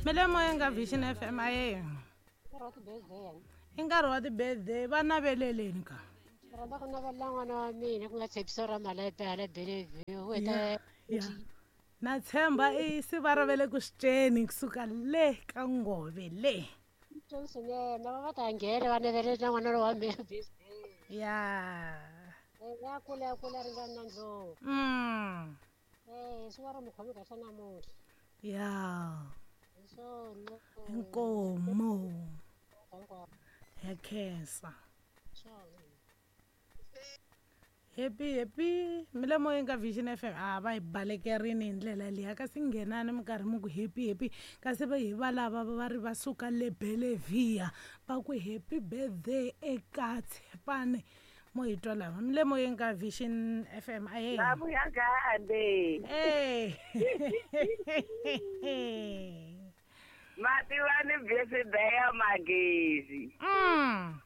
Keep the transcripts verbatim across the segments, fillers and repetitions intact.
Mi le moyeni ka Vision F M aye. I nkarhi wa ti-birthday va naveleleni ka. Rhandza ku navelela n'wana wa mina ku nga Tshepiso ra Malepe hala Bellevue u heta Ya. Na tshemba i siva ra ve le ku swi ceni kusuka le ka ngove le. Swinene va va ta nghena va navelela n'wana lowa wa mina birthday. Ya. Eh, ya kula ya kula ringana na ndlopfu. Mm. Eh, swi va ri mi khomi kahle namuntlha. Ya. Hi swona. Inkomo. Ya khensa. Happy happy mi le moyeni ka Vision F M a va hi balekerini hi ndlela liya kasi nghenani mi karhi mi ku happy happy kasi va hi va lava va ri va suka le Bellevue va ku happy birthday eka Tshepane mo hi twa lava mi le moyeni ka Vision F M a ye Va vuya kambe. Eh. Mativani birthday ya Magezi. Mm.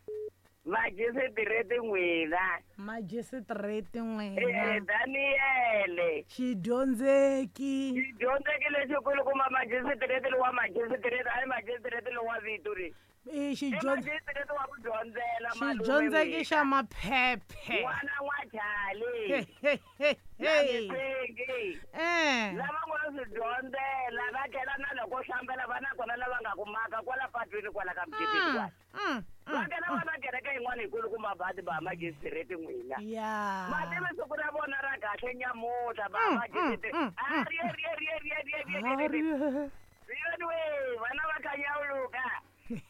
Majisitireti n'wina. Majisitireti n'wina. Eh, Daniele. Xidyondzeki. Xidyondzeki lexikulu kuma majisitireti lowa majisitireti, a hi majisitireti lowa vito ri. I xidyondze- I majisitireti wa ku dyondzela, malume Xidyondzeki n'wina. xa maphephe. N'wana wa Charlie. Hey. Hey. Eh. Lava ngo swi dyondzela va tlhela na loko hlambela va na kona lava nga ku maka kwala patwini kwala ka mukepeni kwala. Mm, Va tlhela va na kereke yin'wana yikulu kuma badi ba majisitireti n'wina. Ya. Mativi siku ra vona ra kahle nyamuntlha ba Mm, majisitireti. mm, mm, A ri ri ri ri ri ri ri ri ri. Ari. Yoni we, vana va khanyawuluka.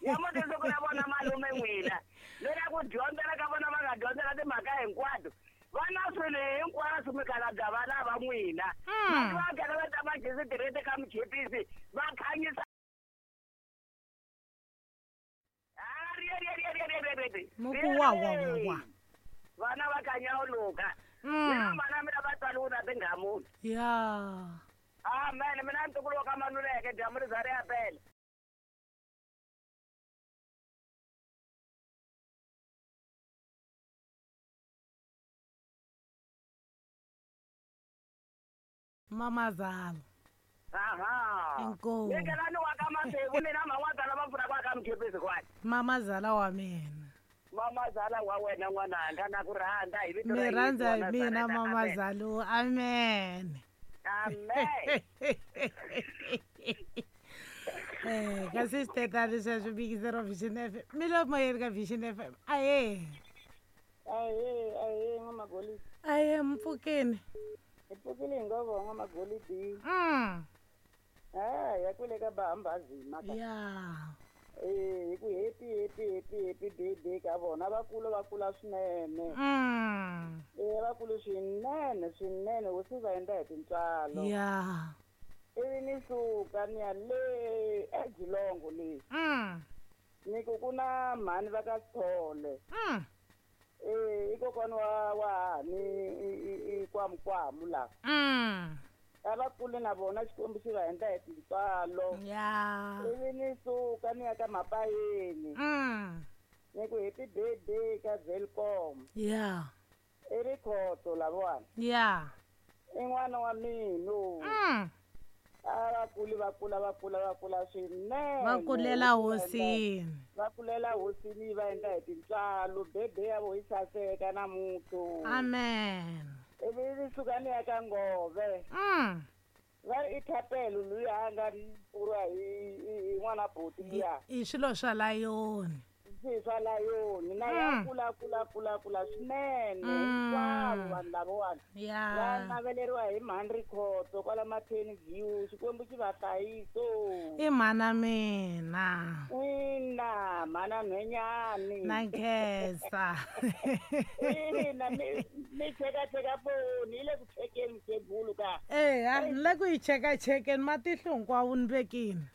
Nyamuntlha siku ra vona malume n'wina. Lera ku dyondzela ka vona va nga dyondzela timhaka hinkwato. Va na swilo hinkwaswo mikhalabye va lava n'wina. Mm. Mati va nghena va ta majisitireti ka muchipisi va khanyisa. Muku wa wa wa wa. Vana va khanyawuluka. Mm. Mina mana mina va tswariwe na tinghamula. Ya. Amen, mina ntukulu wa ka Maluleke dyambu ri za ri ya pela. Mamazala. Aha. Inkomu. Nyekelani wa ka Masevu mina man'watala va pfuna kwa ka muchipisi kwala. Mamazala wa mina. Mamazala wa wena n'wananga na ku rhandza hi vito ra Mi Yesu rhandza wa hi mina Nazareta. Amen. mamazala. Amen. Amen. Eh, kasi switetani sweswo bikisero Vision F M. Mi le moyeni ka Vision F M. Aye. Aye, aye, n'wamagolidi. Aye, mpfukeni. Hi pfukile hi ngo vo n'wamagolidi. Mm. Ah, ya kwele ka Bahambazima ka. Ya. Eh, hi ku happy, happy, happy, happy birthday ka vona. Va kula, va kula swinene. Mm. Eh, va kula swinene, swinene, hosi va endla hi tintswalo. Ya. Ivi ni suka ni ya le eGilongo le. Mm. Ni ku ku na mhani va ka Sithole. Mm. Eh, i kokwana wa, wa hani, i, i, i kwamukwamu la. Mm. A va kule na vona Xikwembu xi va endla hi tintswalo. Ya. Ivi ni suka ni ya ka Mapayeni. Mm. Ni ku happy birthday ka Welkom. Ya. I Rikhotso lavawani. Ya. I n'wana wa mina. Mm. A va kuli, va kula, va kula, va kula swinene. Va kulela hosini. Va kulela hosini va endla hi tintswalo. Birthday ya vo yi saseka namuntlha. Amen. Ivi ni suka ni ya ka Ngove. Mm. Va ri i Thapelo luya a nga pfuriwa hi, hi, hi n'wana buti luya. I swilo swa layoni. Swilo swa layoni. Na ya Mm. kula, kula, kula, kula swinene. Mm. Hinkwavo vanhu lavawani. Ya. Va naveleriwa hi mhani Rikhotso kwala Matheni View. Xikwembu xi va hlayisa. I mhana mina. Ina, mhana nhwenyani. Na nkhensa. Ina, mi, mi chekacheka foni, yi le ku chekeni mukhegulu ka. Eh, ni le ku yi chekachekeni matihlo hinkwawo ni vekini.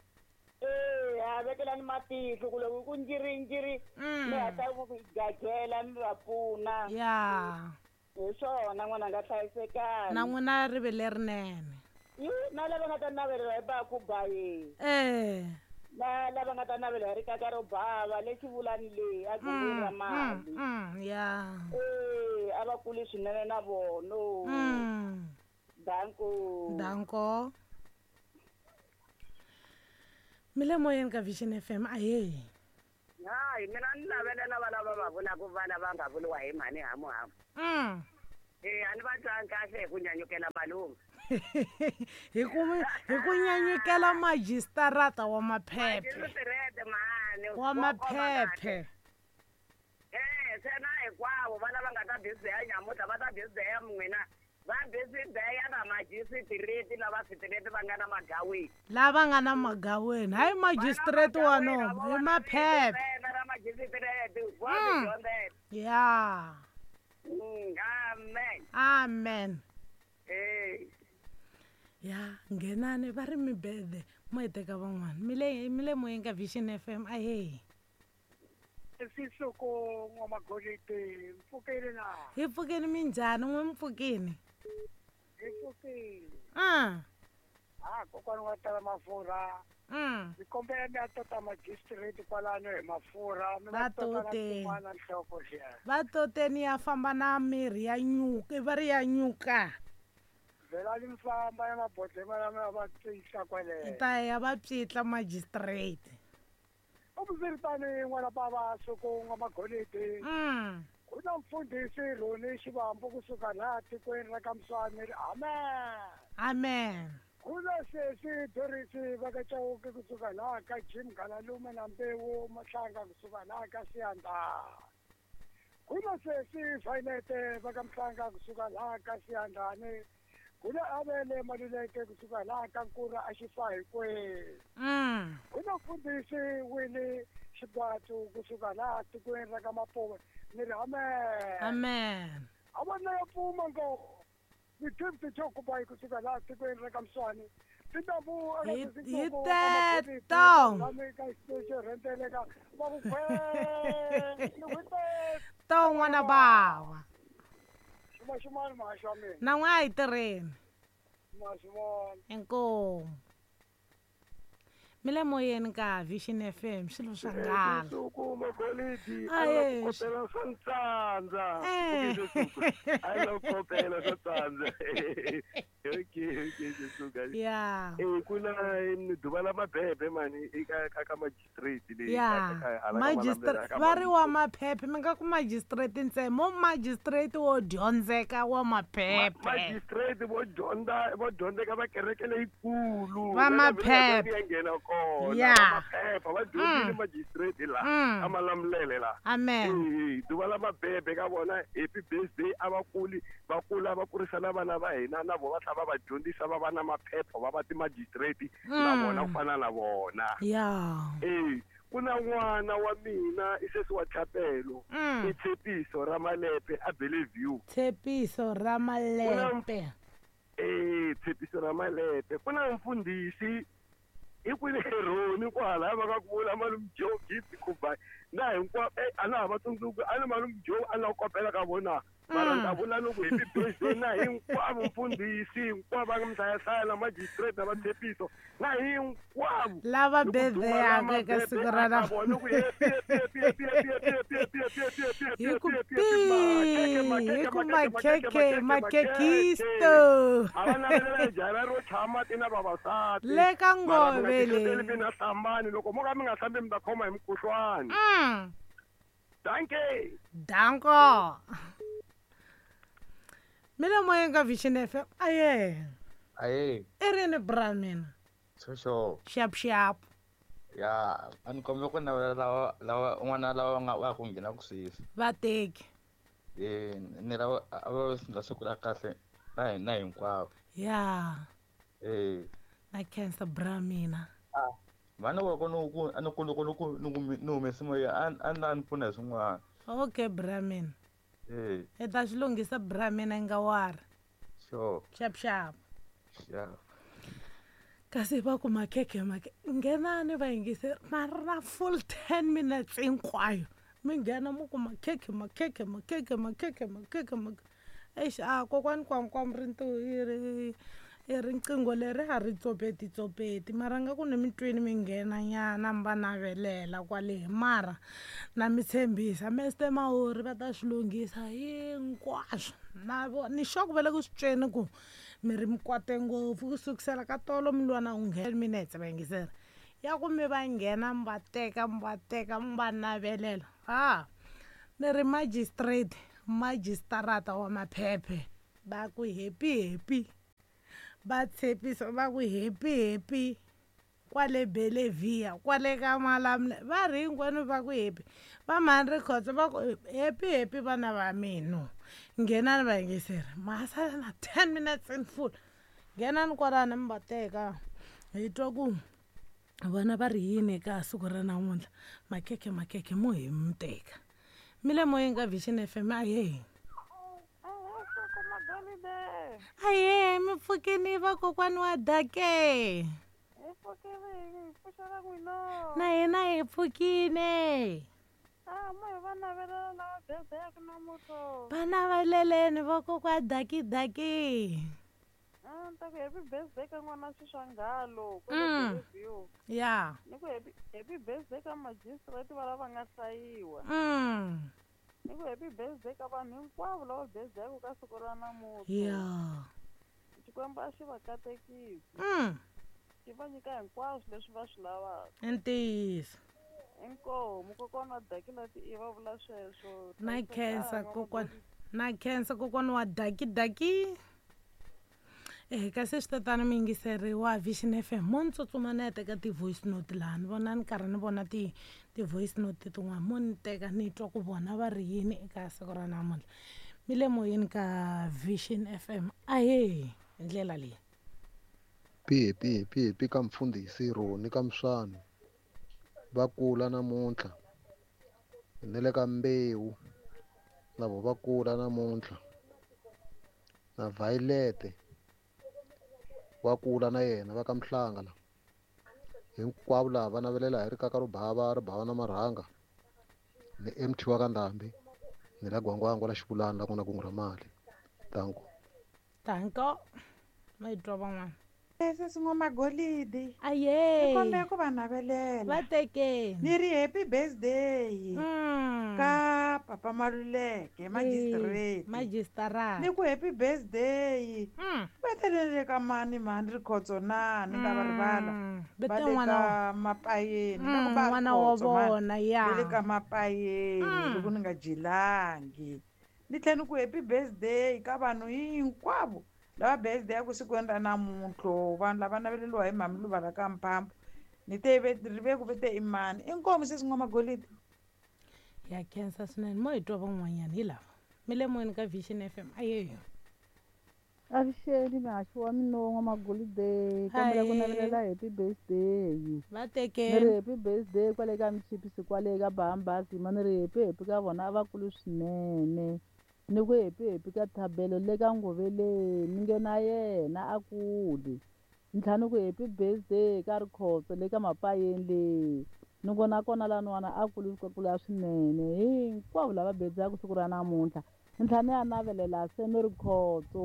Eh, a vekelani matihlo ku loko ku njiri njiri, Mm. mi hatla ku gagela mi va pfuna. Ya. Hi swona n'wana nga hlayisekani. Na n'wina ri ve lerinene. Yi, na lava nga ta navelela hi ba ku ba ye. Eh. Na lava nga ta navela hi rikaka ro bava le xivulani le a gungwini ra Mm, mali. mm, mm, ya. Eh, a va kuli swinene na vona. Mm. Danko. Danko. Mi le moyeni ka Vision F M, ahee. Hayi, mina ni navelela vana va va vulaka vana va nga vuriwa hi mhani hamuhamu. Mm. Eh, a ni va twangi kahle hi ku nyanyukela malume. Hi ku hi ku nyanyukela majistarata wa maphephe. Majisitirete mhani. Wa maphephe. Eh, se na hinkwavo vana va nga ta biziya nyamuntlha va ta biziya n'wina. Va biziya na majisitireti lava sitireti va nga na magaweni. Lava nga na magaweni. Hayi majisitireti wa nomu, hi maphephe. Ra majisitireti, wa tidyondzela. Ya. Mm, amen. Amen. Eh. Ya, nghenani va ri mibede mo hi teka van'wana. Mi le mi le moyeni ka Vision F M, ahee. Sisoko n'wamagolidi, mpfukile na? Hi pfukile minjhani, n'we mpfukile? Hi pfukile. Ah. Ah, kokwana wa tala mafurha. Mm. Ni kombela mi ya tota magistrate kwalano hi mafurha, mi Va va tota na tote. tin'wana nhloko xiya. Va toteni ya famba na mirhi ya nyuka, va ri ya nyuka. Vhelani mi famba ya mabodhlema lama va tiyisa kwale. Hi ta ya va pyitla magistrate. Swiritano n'wana bava Soko n'wamagolidi. Mm. Ku na mfundhisi Roni Xivambu kusuka laha tikweni ra ka Mswani ri amen. Amen. Ku na sesi Dorisi va ka Chauke kusuka laha ka Jim Galalume na Mbewu Mahlanga kusuka laha ka Siyanda. Ku na sesi Violet va ka Mhlanga kusuka laha ka Siyandani. Ku na Avele Maluleke kusuka laha ka Nkura a Xifahikweni. Mm. Ku na mfundhisi Winnie Xibatu kusuka laha tikweni ra ka Mapuve ni ri amen. Amen. A va na ya pfuma ngo ni gift Chokubai kusuka laha tikweni ra ka Mswani. Tintambu eka Hi sesi hi Ntsongo n'wamagolidi, teto. lami ka xiteji rhenteleka va ku khwee, ni ku teto. To n'wana bawa. Xuma xumani muhaxi wa mina. Na n'we a hi tirheni. Ma swi vona. Inkomu. Mi le moyeni ka Vision F M, swilo swa nghala. Soko magolidi, Ah, a la yes. ku kopela swa ntsandza. Eh. Okay, Soko. A la ku kopela swa ntsandza. Okay, okay, Soko. Ya. Eh, ku na duva la mabebe mani eka ka ka magistrate leyi Ya. ka- ka- hala ka Magistrate Malamulele, ka va ri wa maphephe, mi nga ku magistrate ntsena, mo magistrate wo dyondzeka wa maphephe. Magistrate vo dyondza, vo dyondzeka va kereke leyikulu. Va Va maphephe. ya nghena kona. Ya. Va maphepha, va dyondzile Mm. magistrate la, Mm. ka Malamulele la. Amen. Eh, duva la mabebe ka vona happy birthday a va kuli, va kula va kurisa na vana va hina na vona va tlhela va va dyondzisa va va na maphepha va va ti-magistrate na Mm. vona ku fana na vona. Ya. Eh, ku na n'wana wa mina i sesi wa Chapelo, Mm. i Tshepiso Ramalepe a Bellevue. Tshepiso Ramalepe. Eh, Tshepiso Ramalepe. Ku na mfundhisi i kwini Roni kwalaya va nga ku vula malume Joe Gift Khubai na hinkwavo, eh, a na ha va tsundzuki, a ni malume Joe a la ku kopela ka vona. Mara ni ta vula ni ku happy birthday na hinkwavo mfundhisi, hinkwavo va nga mhlayahlaya na magistrate na va Tshepiso na hinkwavo. Lava Ni ku duma birthday-aka la eka siku mabebe ra aka vona, ni ku happy, happy, happy, happy, happy, happy, happy, happy, happy, happy, Hi ku happy, pi, happy, hi ku makeke, makhekhe, makeke, makhekisto. A va navelela jara ro tshama ti na vavasati. Le ka Mara mi nga ngove tihleteli le. mi nga hlambani, loko mo ka mi nga hlambi mi ta khoma hi mukhuhlwani. Mm. Dankie. Danko. Mi le moyeni ka Vision F M. Aye. Aye. I rini bra mina? Xoxo. Xap xap. Ya, a ni kombela ku navela lava lava n'wana lava nga va ku nghena ku sweswi. Vateki. Eh, ni lava a va sindza siku ra kahle na hina hinkwavo. Ya. Eh. Na khensa bra mina. Ah, vana va ku ni ku a ni ku loko ni ku ni ku ni humese moya a a ni ni pfuna hi swin'wana. Okay bra mina. Eh. I ta swi lunghisa bra mina nga wari. Sure. Xap xap. Ya. Kasi va ku makhekhe makhe nghenani va yingiseri mara na full ten minutes hinkwayo mi nghena mi ku makhekhe makhekhe makhekhe makhekhe makhekhe makhekhe. Eish, a kokwani kwamkwam ri ntu i ri i riqingho leri a ri tsopeti tsopeti mara nga ku ni mi twini mi nghena nyana mi va navelela kwale mara na mi tshembisa Mister Mahori va ta swi lunghisa hinkwaswo na vo ni sure ku va le ku swi tweni ku mi ri mi kwate ngopfu ku sukusela ka tolo mi lwa na u nghena minetse va yingisela Ya ku mi va nghena mi va teka mi va teka mi va navelela. Ah, ni ri magistrate, majistarata wa maphephe. Va ku happy happy. Va tshepisa va ku happy happy. Kwale Belevia, kwale ka Malamule, va ri hinkwenu va ku happy. Va mhani Rikhotso va ku happy happy vana va mina. Nghenani va yingiseri. Ma sala na ten minutes in full. Nghenani kwalano mi va teka. Hi twa ku vona va ri yini eka siku ra namuntlha. Makhekhe makhekhe mo hi mi teka. Mi le moyeni ka Vision F M ahee. Ahee, mi pfukini vakokwani wa Dake. Na hina hi pfukile. Va naveleleni vakokwa Daki Daki. Happy birthday ka n'wana Xiswangalo Mm. Ya. Ni ku happy happy birthday ka magistrate va lava nga hlayiwa. Mm. Ni ku happy birthday ka vanhu hinkwavo lava birthday ka siku ra namuntlha. Ya. Xikwembu a xi va katekisi. Mm. Xi va nyika hinkwaswo leswi va swi lavaka. I ntiyiso. Inkomu kokwana wa Daki lati i va vula sweswo. Na khensa kokwana. Na khensa kokwana wa Daki Daki. Eh, kasi swi tatana mi yingiseri wa Vision F M mo ni tsutsuma ni ya teka ti-voice note laha ni vona ni karhi ni vona ti ti-voice note tin'wana mo ni teka ni twa ku vona va ri yini eka siku ra namuntlha. Mi le moyeni ka Vision F M ahee hi ndlela leyi. Pi pi pi pi ka mfundhisi Roni ka Mswani va kula namuntlha ni le ka Mbewu na vo va kula namuntlha na Violet wa kula na yena va ka Mhlanga la hinkwavo lava va navelela hi rikaka ro bava ri bava na marhanga ni M T wa ka Ndhambi ni la Gwangwangwa la Xivulani la ku na kungu ra mali. Danko. Danko. Ma twa van'wana. Sesi N'wamagolidi. Aye. Ni kombela ku va navelela. Va tekeni. Ni ri happy birthday. Mm. Ka Papa Maluleke, magistrate. Magistrate. Ni ku happy birthday. Mm. Va telele ka mani mani Rikhotso na ni nga va rivala. Va Va te le n'wana ka Mapayeni. Ni ku va N'wana wa Rikhotso, mani. vona, ya. Va le ka Mapayeni loko ni nga jilangi. Ni tlhela ni ku happy birthday ka vanhu hinkwavo lava birthday ya ku siku ra namuntlha vanhu lava naveleriwa hi mhami Luva ka Mphambo ni te ri ve ku vete i mani inkomu sesi N'wamagolidi. Ya khensa swinene mo hi twa van'wanyana hi lava mi le moyeni ka Vision F M ayeyo. Avuxeni muhaxi wa mina N'wamagolide kombela ku navelela happy birthday. Va tekeni. Ni ri happy birthday kwale ka Mchipisi kwale ka Bahambasi ma ni ri happy happy ka vona a va kulu swinene. Ni ku happy happy ka Thabelo le ka Ngoveleni ni nge na yena a kuli. Ni tlhela ni ku happy birthday ka Rikhotso le ka Mapayeni le. Ni ku nakona laniwani a kuli kula swinene hinkwavo lava birthday siku ra namuntlha. Ni tlhela ni ya navelela se ni Rikhotso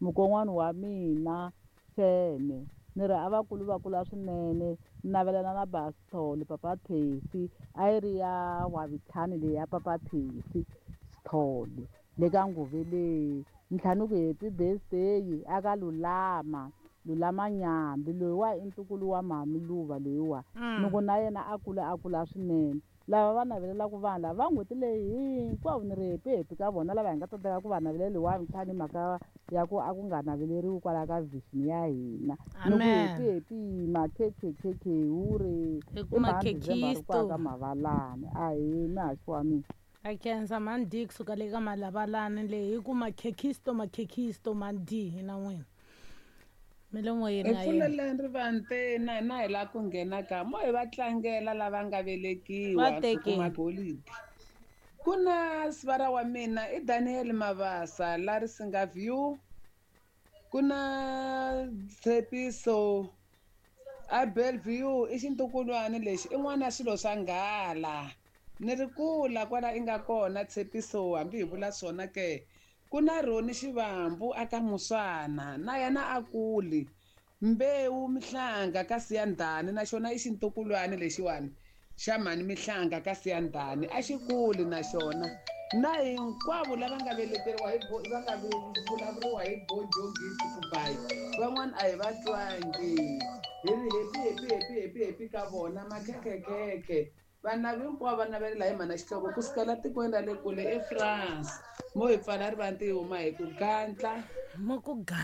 mukon'wana wa mina Seme ni ri a va kulu va kula swinene ni navelela na Basithole Papa Thesi a yi ri ya Wavitlhani leyi ya Papa Thesi Sithole le ka Ngoveleni. Ni tlhela ni ku happy birthday aka Lulama Lulama Nyambi loyiwa i ntukulu wa mhami Luva loyiwa ni ku na yena a kula a kula swinene. Lava va navelelaka vanhu lava va n'hweti leyi hinkwavo ni ri happy happy ka vona lava hi nga tsandzeka ku va naveleli Wavitlhani mhaka ya ku a ku nga naveleriwi kwala ka vision ya hina. Ni ku happy happy makhekhekhekhe hure Hi ku i mhani December ri kwaka Mavalani ahee muhaxi wa mina. A khensa mhani D kusuka le ka Malavalani leyi hi ku makhekhisto makhekhisto mhani D hi na n'wina. Mi le moyeni Hi a yena. pfuleleni rivante na hina hi lava ku nghena ka mo hi va tlangela lava nga velekiwa Va siku tekeni. Magolidi. Ku na sivara wa mina i Daniel Mabasa la Risinga View. Ku na Tshepiso a Bellevue i xintukulwana lexi i n'wana ya swilo swa nghala. Ni ri kula kwala i nga kona Tshepiso hambi hi vula swona ke. Ku na Roni Xivambu aka Muswana na yena a kuli. Mbewu Mihlanga ka Siyandhani na xona i xintukulwana lexiwani xa mhani Mihlanga ka Siyandhani a xi kuli na xona. Na hinkwavo lava nga veleteriwa hi bo va nga vulavuriwa hi Bojo Gift Kubayi van'wana a hi va twangi. Hi ri happy happy happy happy happy ka vona makhekhekhe. Vana hinkwavo va navelela hi mhana Xihlovo kusuka la tikweni ra le kule eFrance. Mo hi pfala rivanti hi huma hi ku gantla. Mo ku gantla.